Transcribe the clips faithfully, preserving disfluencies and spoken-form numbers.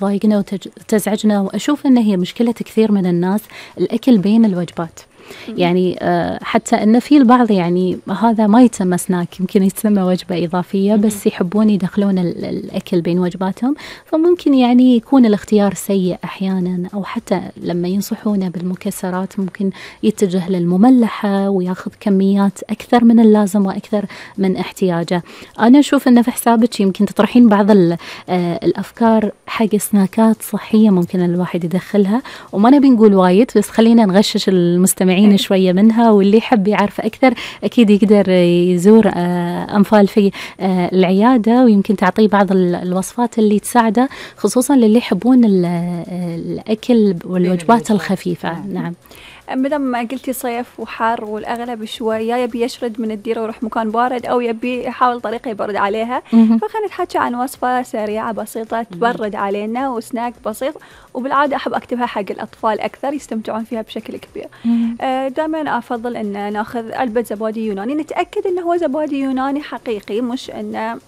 تضايقنا وتزعجنا، وأشوف أن هي مشكلة كثير من الناس، الأكل بين الوجبات. يعني حتى أن في البعض يعني هذا ما يتسمى سناك، يمكن يتسمى وجبة إضافية، بس يحبون يدخلون الأكل بين وجباتهم، فممكن يعني يكون الاختيار سيء أحيانا، أو حتى لما ينصحونه بالمكسرات ممكن يتجه للمملحة وياخذ كميات أكثر من اللازم وأكثر من احتياجه. أنا أشوف أنه في حسابك يمكن تطرحين بعض الأفكار حق سناكات صحية ممكن الواحد يدخلها، وما نبي نقول وايد، بس خلينا نغشش المستمعين شوية منها، واللي يحب يعرف أكثر أكيد يقدر يزور أنفال في العيادة، ويمكن تعطيه بعض الوصفات اللي تساعده، خصوصا للي يحبون الأكل والوجبات الخفيفة. نعم. مدام ما قلتي صيف وحار والأغلب شوي يا يبي يشرد من الديرة ويروح مكان بارد، أو يبي يحاول طريقة يبرد عليها، فخلينا نتحكي عن وصفة سريعة بسيطة تبرد علينا وسناك بسيط، وبالعادة أحب أكتبها حق الأطفال أكثر يستمتعون فيها بشكل كبير. آه دائما أفضل أن نأخذ علبة زبادي يوناني، نتأكد أنه هو زبادي يوناني حقيقي، مش أنه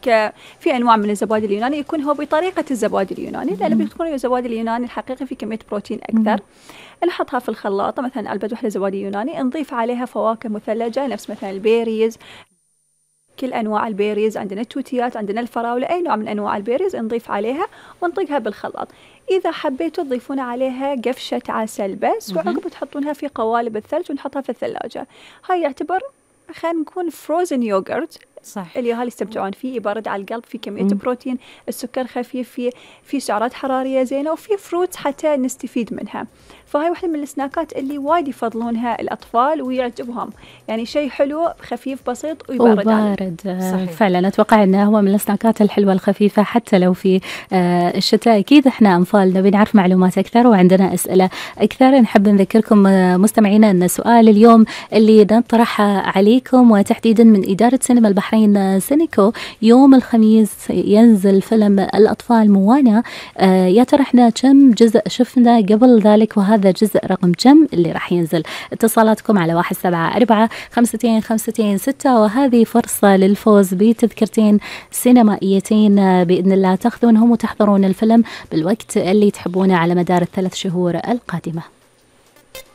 ك في أنواع من الزبادي اليوناني يكون هو بطريقة الزبادي اليوناني، لأنه بيكون الزبادي اليوناني الحقيقي في كمية بروتين أكثر. نحطها في الخلاطة، مثلا علبة وحدة زبادي يوناني، نضيف عليها فواكه مثلجة نفس مثلا البيريز، كل أنواع البيريز، عندنا التوتيات، عندنا الفراولة، أي نوع من أنواع البيريز نضيف عليها ونطيقها بالخلاط. إذا حبيتوا تضيفون عليها قفشة عسل بس، وعقب تحطونها في قوالب الثلج ونحطها في الثلاجة. هاي يعتبر خلينا نكون فروزن يوغرت، صح، اللي أهالي يستمتعون فيه، يبرد على القلب، في كمية مم. بروتين، السكر خفيف، في في سعرات حرارية زينة، وفي فروت حتى نستفيد منها. فهاي واحدة من السناكات اللي وايد يفضلونها الأطفال ويعجبهم، يعني شيء حلو خفيف بسيط ويبرد. وبارد فعلا. أتوقع أنه هو من السناكات الحلوة الخفيفة حتى لو في الشتاء. أكيد إحنا أنفال نبي نعرف معلومات أكثر وعندنا أسئلة أكثر. نحب نذكركم مستمعينا أن سؤال اليوم اللي نطرح عليكم، وتحديدا من إدارة سينما البحرين سينيكو، يوم الخميس ينزل فيلم الأطفال موانا، يا ترى إحنا كم جزء شفنا قبل ذلك، وهذا هذا جزء رقم كم اللي راح ينزل؟ اتصالاتكم على واحد سبعة أربعة خمستين خمستين ستة، وهذه فرصة للفوز بتذكرتين سينمائيتين بإذن الله تأخذونهم وتحضرون الفيلم بالوقت اللي تحبونه على مدار الثلاث شهور القادمة.